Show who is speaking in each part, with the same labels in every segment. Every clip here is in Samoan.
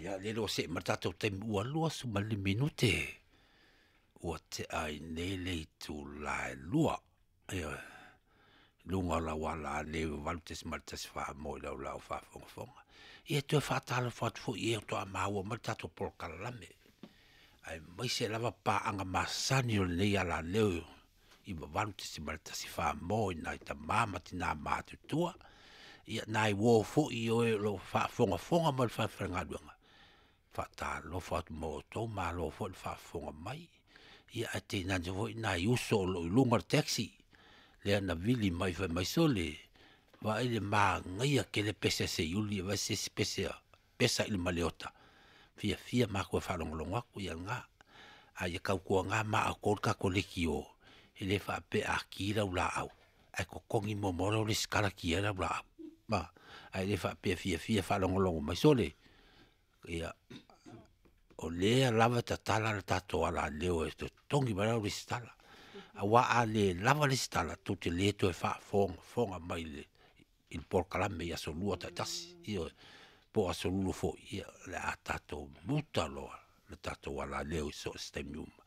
Speaker 1: Ia, lele ua see ma le tatou taimi ua 25 minute ua tea ai nei le itula e 2. Ioe. I luga o lau ala leu 8.14 mo i lau lau faafogafoga. Ia toe faatalofa atu foi i e faatoa maua mai le tatou polokalame, aemaise lava paaga masani o lenei alaleo i 8.14 mo i nai tama ma tina matutua. Ia nai uo foi i oe o lo o faafogafoga mai le falefaigaluega, faatalofa atu ma outou, malo foi le faafofoga mai. Ia ae tainane foi nai uso o lo o i luga o le taxi, lea na vili mai fai mai, sole, vaai le manaia tele pese a Seiuli, e vaai se isi pese a pesa i le Maliota, fiafia matou e faalogologo atu, ia lena. A ia tautuana ma outou le tatou leitio, e le faapea a ki lau laau, ae totogi muamua lau resitala ki ai lau laau. Ma, ae le faapea e fiafia e faalogologo mai, sole, ia, o lea lava e tatala le tatou alaleo e totogi mai lau resitala. Aua a le lava resitala, tou te le toe faafogafoga mai i le polokalame i aso lua taitasi, ioe, po o aso lulu foi, ia, o le a tatou muta loa le tatou alaleo i so o se taimi uma.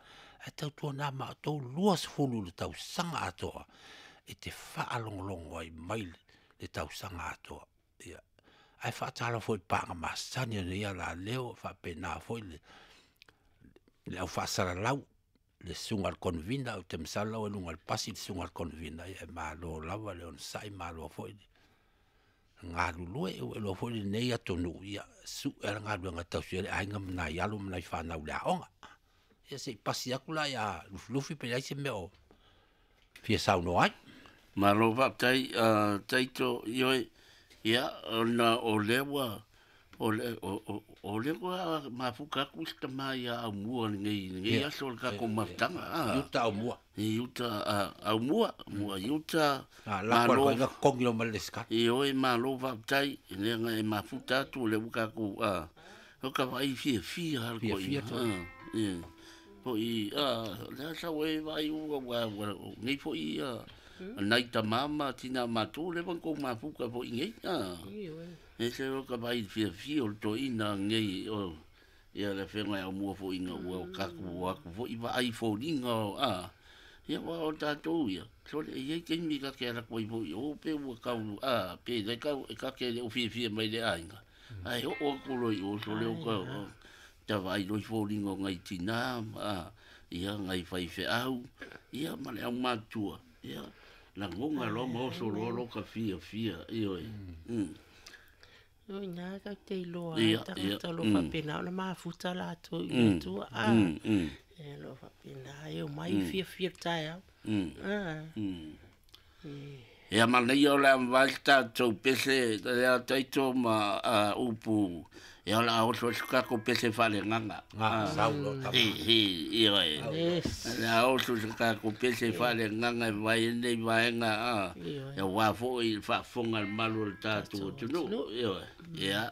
Speaker 1: Ae tautuana ma outou 20 i le tausaga atoa e te faalogologo ai mai le tausaga atoa. Ia, ae faatalofa foi i paaga masani o lenei alaleo, faapena foi le au faasalalau, le susuga i le Convener, ou te masalo la ua i luga o le pasi le susuga i le Convener, ia e malo lava le onosai, malo foi le galulue. Ua iloa foi lenei atunuu, ia sue lava le galuega e tausi ai le aiga ma nai alo ma nai fanau i le aoga. Ia se i pasi atu la ia Lufilufi pe leai se mea o fia saunoa ai.
Speaker 2: Malo faafetai, Taito, ioe, ia, ona o lea ua, o le, o, o, o lea ua mafuta atu se tama ia Aumua lenei, lenei aso o le tatou mafutaga.
Speaker 1: I uta Aumua.
Speaker 2: I uta Aumua, mua i uta.
Speaker 1: Lako
Speaker 2: Malo.
Speaker 1: Malo. Totogi lo mai le resitala.
Speaker 2: Ioe, malo faafetai, lea na e mafuta atu, o lea ua tatou, o ka vaai fiafia lava le
Speaker 1: Fiafia
Speaker 2: toeaina. Ia. Foi, lea sau e vaai ua, ua, ua, nei foi, nai tama ma tina matua, lea ua tou mafuta foi nei. E se o ka vaai fiafia o le toeaina nei, o, ia le afioga i Aumua foi ina ua tatou o atu foi vaai foliga o, ia ua o tatou ia, sole e i ai taimi ta te alu atu ai foi i o pe ua tau, pe le tau, e ta te le o fiafia mai le aiga, ae oo atu loa i o, sole o ka, ta vaai loa i foliga o nai tina, ia, nai faifeau, ia, ma le aumatutua, ia, lagona loa ma oso loa lo ka fiafia, ioe.
Speaker 3: O ina tatou te iloa ai tagata o lo o faapena ona mafuta latou i le Atua. E o lo o faapena e omai fiafia i le taeao.
Speaker 2: Ia manaia o le a mavae se tatou pese lea Taito ma upu, ia o le a oso ai se tatou pese faaleagaga.
Speaker 1: Sau loa tama.
Speaker 2: Ioe. O le a oso se tatou pese faaleagaga e vae ai lenei vaega, aua foi le faafofoga a le malu o le tatou atunuu. Ioe. Ia.